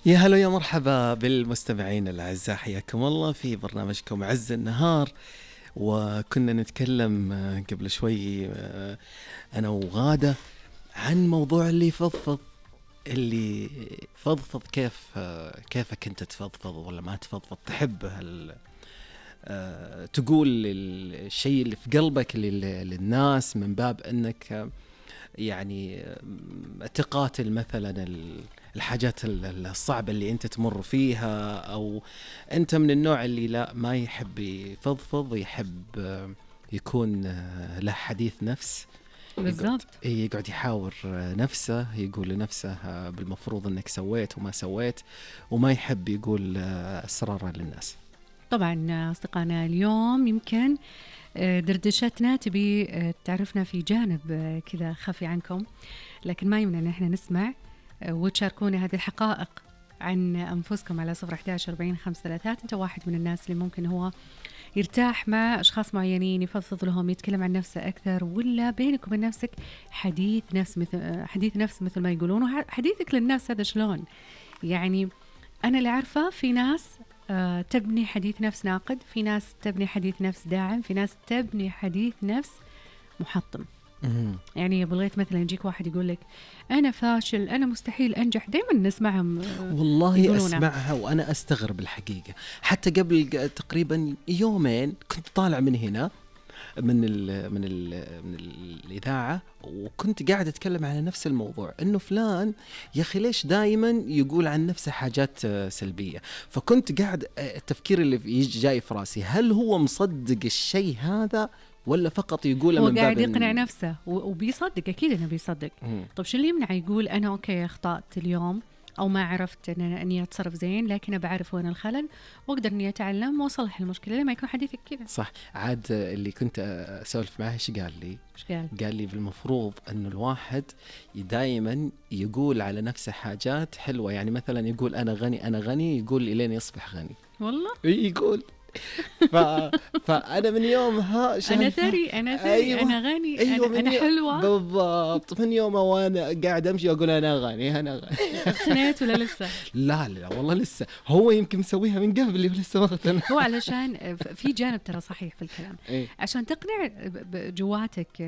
يا هلا يا مرحبا بالمستمعين الأعزاء، حياكم الله في برنامجكم عز النهار. وكنا نتكلم قبل شوي أنا وغادة عن موضوع اللي فضفض كيفك أنت تفضفض ولا ما تفضفض، تحب تقول الشيء اللي في قلبك للناس من باب أنك يعني تقاتل مثلا الحاجات الصعبة اللي أنت تمر فيها، أو أنت من النوع اللي لا ما يحب يفضفض، يحب يكون له حديث نفس بالضبط، يقعد يحاور نفسه، يقول لنفسه بالمفروض أنك سويت وما سويت، وما يحب يقول أسراره للناس. طبعا أصدقائنا اليوم يمكن دردشتنا تبي تعرفنا في جانب كذا خفي عنكم، لكن ما يمنع أن احنا نسمع وتشاركونا هذه الحقائق عن أنفسكم على 011-40-533. أنت واحد من الناس اللي ممكن هو يرتاح مع أشخاص معينين، يفضفض لهم، يتكلم عن نفسه أكثر، ولا بينك وبين نفسك حديث نفس مثل ما يقولون. وحديثك للنفس هذا شلون؟ يعني أنا اللي عارفة في ناس تبني حديث نفس ناقد، في ناس تبني حديث نفس داعم، في ناس تبني حديث نفس محطم. يعني يا بغيت مثلا يجيك واحد يقول لك أنا فاشل، أنا مستحيل أنجح، دايما نسمعهم والله يقولونها. أسمعها وأنا أستغرب الحقيقة. حتى قبل تقريبا يومين كنت طالع من هنا من الإذاعة، وكنت قاعد أتكلم على نفس الموضوع، إنه فلان يا أخي ليش دائما يقول عن نفسه حاجات سلبية. فكنت قاعد التفكير اللي جاي في راسي، هل هو مصدق الشيء هذا ولا فقط يقوله من باب هو قاعد يقنع نفسه وبيصدق؟ أكيد إنه بيصدق. طب شو اللي يمنع يقول أنا أوكي أخطأت اليوم، أو ما عرفت أني أتصرف زين، لكن بعرف وين الخلل وأقدر أني أتعلم وأصلح المشكلة. لما يكون حديثك كذا صح. عاد اللي كنت أسولف معه إيش قال لي؟ قال لي بالمفروض أنه الواحد دائما يقول على نفسه حاجات حلوة. يعني مثلا يقول أنا غني أنا غني، يقول إلين يصبح غني. والله يقول فأنا من يومها أنا ثري أيوة أنا غني، أيوة أنا حلوة. بالضبط. من يوم وأنا قاعد أمشي أقول أنا غني أنا غني. اقتنيت ولا لسه؟ لا والله لسه. هو يمكن مسويها من قبل ولسه ما اقتنع. هو علشان في جانب ترى صحيح في الكلام. عشان تقنع جواتك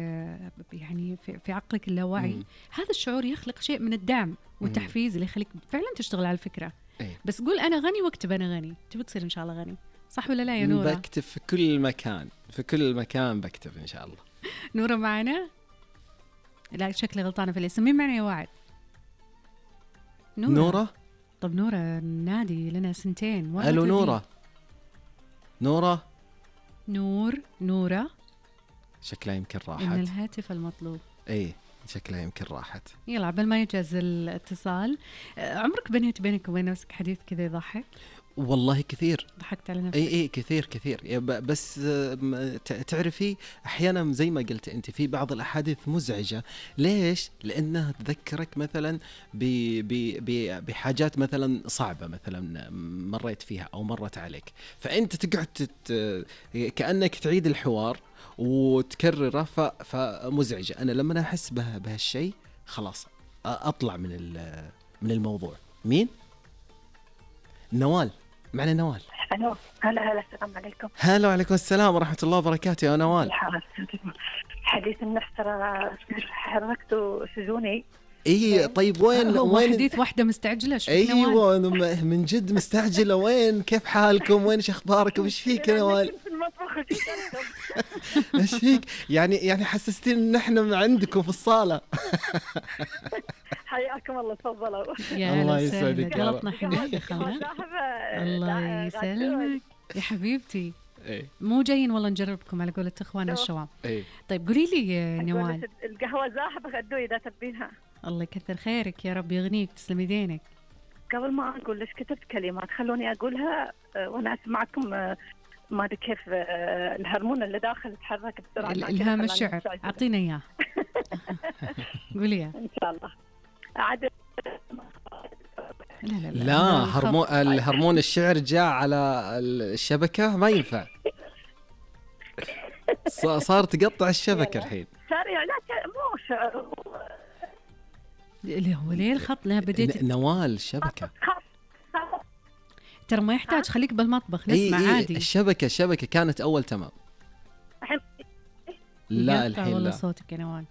يعني في عقلك اللاواعي، هذا الشعور يخلق شيء من الدعم والتحفيز اللي يخليك فعلا تشتغل على الفكرة. بس قول أنا غني واكتب أنا غني، تبي تصير إن شاء الله غني، صح ولا لا يا نورة؟ بكتب في كل مكان، في كل مكان بكتب إن شاء الله. نورة معنا؟ لا شكلي غلطانة في الاسم. مين معنا يا وعد؟ نورة. طب نورة نادي لنا سنتين. ألو نورة نورة شكلها يمكن راحت. إن الهاتف المطلوب. شكلها يمكن راحت. يلا عبال ما يجهز الاتصال. عمرك بنيت بينك وبين نفسك حديث كذا يضحك؟ والله كثير. ضحكت على نفسك؟ كثير. بس تعرفي أحيانا زي ما قلت أنت في بعض الأحاديث مزعجة. ليش؟ لأنها تذكرك مثلا بحاجات مثلا صعبة مثلا مريت فيها أو مرت عليك، فأنت تقعد كأنك تعيد الحوار وتكرره، فمزعجة. أنا لما أحس بهالشيء خلاص أطلع من الموضوع. مين؟ نوال معنا. نوال. ألو. هلا السلام عليكم. هلا وعليكم السلام ورحمة الله وبركاته يا نوال. حديث النفس ترى حركته سجوني. طيب وين حديث واحدة مستعجلة؟ أيوة من جد مستعجلة. وين كيف حالكم؟ وين أخباركم؟ إيش فيك يا نوال؟ في المطبخ. إيش فيك؟ يعني حسستين إن إحنا عندكم في الصالة. حياكم الله، تفضلوا. الله يسعدك. غلطنا حبيبتي خلاص. الله يسلمك يا حبيبتي. مو جايين والله نجربكم على قولة اخواننا الشوام. طيب قولي لي نوال، القهوة زاحبة غدوة إذا تبينها. الله يكثر خيرك يا رب، يغنيك، تسلمي دينك. قبل ما أقول ليش كتبت كلمات خلوني أقولها وأنا أسمعكم. ما أدري كيف الهرمون اللي داخل يتحرك بسرعة. الإلهام الشعر أعطينا إياه. قوليها إن شاء الله. عاد لا الهرمون الشعر جاء على الشبكة ما ينفع. صار تقطع الشبكة الحين. صار لا مو شعر اللي هو ليه الخط. لا بديت نوال شبكة. ترى ما يحتاج، خليك بالمطبخ نسمع عادي. الشبكة كانت أول تمام. لا الحين والله لا. صوتك يا نوال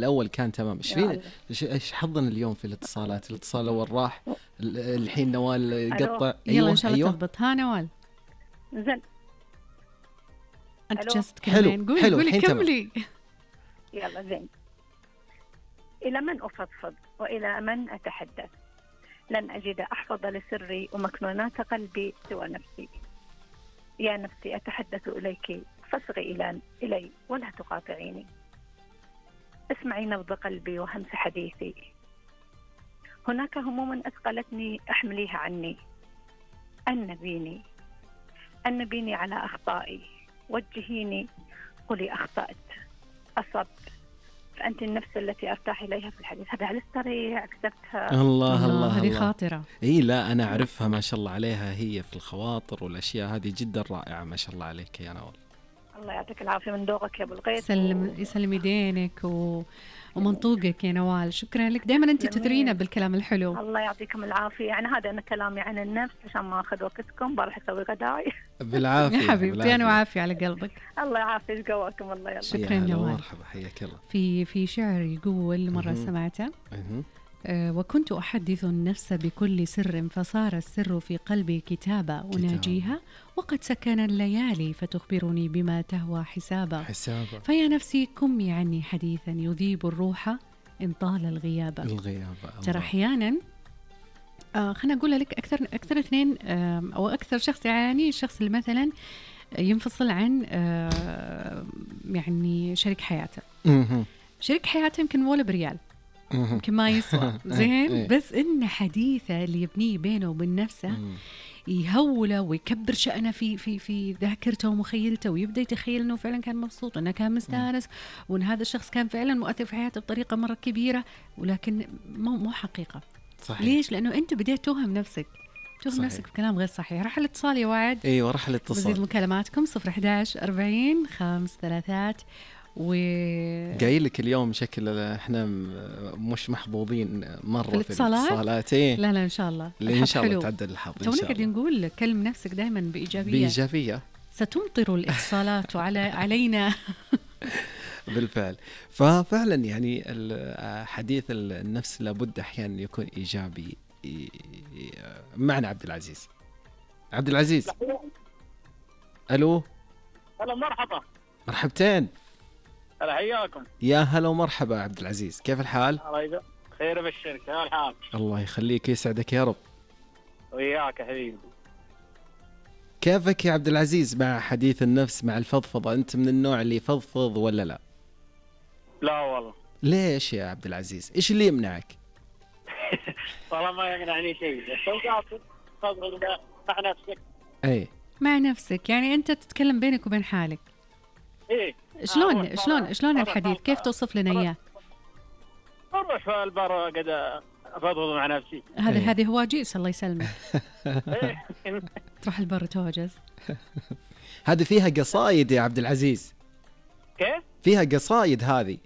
أول كان تمام. إيش فينا؟ إيش حظنا اليوم في الاتصالات؟ الاتصال الأول راح، الحين نوال قطع. يلا إن شاء الله تضبط. ها نوال زين. أنت جالسة تكلمين. قولي كملي. يلا زين. إلى من أفضفض وإلى من أتحدث؟ لن أجد أحفظ لسري ومكنونات قلبي سوى نفسي. يا نفسي أتحدث إليك فاصغي إلي ولا تقاطعيني. اسمعي نبض قلبي وهمس حديثي. هناك هموم أثقلتني أحمليها عني. أنبيني على أخطائي، وجهيني، قولي أخطأت، أصبت، فأنت النفس التي أرتاح إليها في الحديث. هذا على السريع كتبتها. الله هذه خاطرة. إيه لا أنا أعرفها ما شاء الله عليها، هي في الخواطر والأشياء هذه جدا رائعة ما شاء الله عليك يا نوال. الله يعطيك العافية من ذوقك يا أبو الغيث. يسلم يدينك ومنطوقك يا نوال. شكرا لك، دائما أنت تثرينا بالكلام الحلو. الله يعطيكم العافية. يعني هذا أنا كلامي عن النفس عشان ما أخذ وقتكم، بروح أسوي غداي. بالعافية يا حبيبتي أنا وعافية على قلبك. الله يعافيك قواكم. الله يلا. شكرا نوال. مرحبا حياك الله. في شعر يقول مرة سمعته وكنت أحدث النفس بكل سر فصار السر في قلبي كتابة أناجيها وقد سكن الليالي فتخبرني بما تهوى حسابا. فيا نفسي كمي عني حديثا يذيب الروح إن طال الغياب. ترى أحيانا خلنا أقول لك أكثر اثنين أو أكثر شخص يعاني الشخص اللي مثلا ينفصل عن يعني شريك حياته. شريك حياته يمكن ولا بريال، يمكن ما يسوى زين، بس إن حديثه اللي يبنيه بينه وبين نفسه يهوله ويكبر شأنه في ذاكرته ومخيلته، ويبدأ يتخيل إنه فعلا كان مبسوط، إنه كان مستانس، وإن هذا الشخص كان فعلا مؤثر في حياته بطريقة مرة كبيرة، ولكن مو حقيقة. صحيح. ليش؟ لأنه أنت بديت توهم نفسك نفسك بكلام غير صحيح. راح الاتصال يا وعد. ايوه راح الاتصال. بزيد مكالماتكم 011 40 533 قايل لك اليوم شكل احنا مش محظوظين مرة في الاتصالات. لا إن شاء الله إن شاء الله تعدل الحظ إن شاء الله. قاعدين نقول كلم نفسك دائما بإيجابية. ستمطر الاتصالات علينا. بالفعل. ففعلا يعني حديث النفس لابد أحيانا يكون إيجابي. معنا عبد العزيز. ألو. هلا مرحبا. مرحبتين. هلا حياكم. يا هلا ومرحبا عبد العزيز، كيف الحال؟ خير بالشركة. كيف الحال؟ الله يخليك يسعدك يا رب. وياك يا حبيبي. كيفك يا عبد العزيز مع حديث النفس مع الفضفضة؟ أنت من النوع اللي يفضفض ولا لا؟ لا والله. ليش يا عبد العزيز؟ إيش اللي يمنعك؟ والله ما يمنعني شيء، تفضل مع نفسك. أي مع نفسك، يعني أنت تتكلم بينك وبين حالك. إيه. شلون الحديث؟ كيف توصف لنا إياه؟ أروح في البر قد أفضل مع نفسي. هذه هواجيس الله يسلمك. تروح البر توجز. هذه فيها قصايد يا عبد العزيز. كيف؟ فيها قصايد هذه.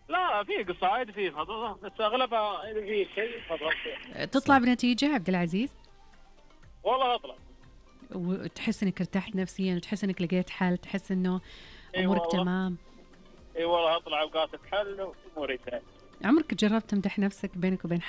لا في قصايد في فضفضة، بس أغلبها في شيء فضفضة. تطلع بنتيجة عبد العزيز؟ والله أطلع. وتحس إنك ارتحت نفسيا، وتحس إنك لقيت حل، تحس إنه أمورك تمام. إي والله أطلع أوقات حل وأموري تمام. عمرك جربت تمدح نفسك بينك وبين